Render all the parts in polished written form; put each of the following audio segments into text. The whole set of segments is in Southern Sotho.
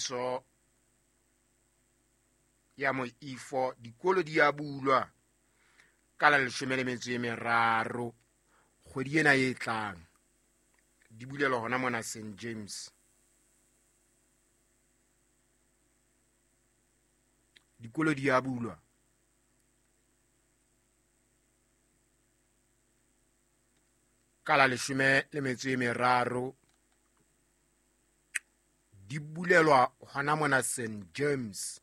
Tshebediso ya moifo, dikolo di a bulwa ka la 13 kgwedi ena e tlang. Di bulelwa hona mona St James. Dikolo di a bulwa ka la 13, di bulelwa hona mona St James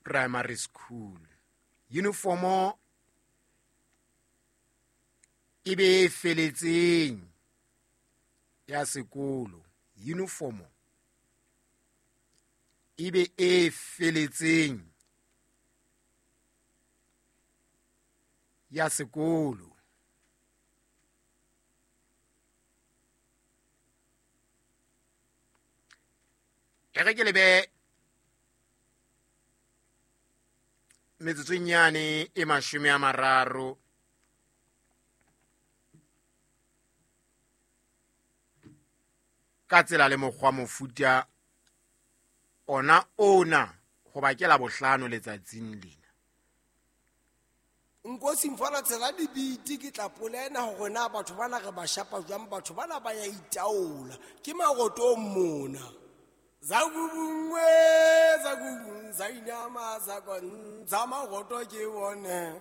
Primary School. Uniformo e be e feletseng ya sekolo, uniformo e be e feletseng ya sekolo. E re ke lebe metsotsong yane e 30 ka tsela le mokgwa mofuta ona ona, hoba ke la bohlano letsatsing lena. Nkosi mfana tshela dibiti, ke tla polena hore na batho bana re ba shapa jwang, batho bana ba ya itaola ke marotong mona. Zakubungwe, zakubung, zainama, zakon, zamaroto ke bone.